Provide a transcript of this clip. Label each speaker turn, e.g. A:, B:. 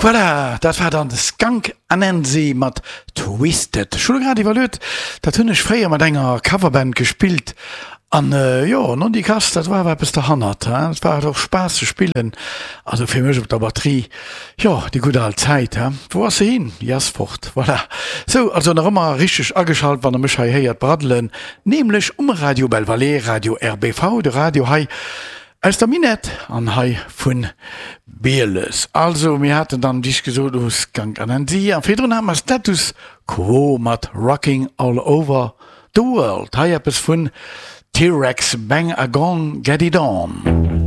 A: Voilà, dat war dann de Skunk Anansie mat Twisted. Ech hu lo grad iwwerluet, dat hunn ech fréier mat enger Coverband gespillt an jo, nondikass, dat war awer eppes derhannert, hein. Et war och Spaass ze spillen, also fir mech op der Batterie, jo, déi gutt al Zäit, hein. Wou ass se hin? Déi ass fort, voilà. Sou, also nach ëmmer richteg ageschalt, wann der mech hei héiert braddelen, nämlech um Radio Belval, Radio RBV, de Radio hei Aus der Minett an hei vun Bieles. Also mir haten dann wéi ech gesot hu Skunk Anansie a virdrun hate mer Status Quo mat Rocking All Over The World. Hei eppes vun T-Rex, Bang A Gong Get It On.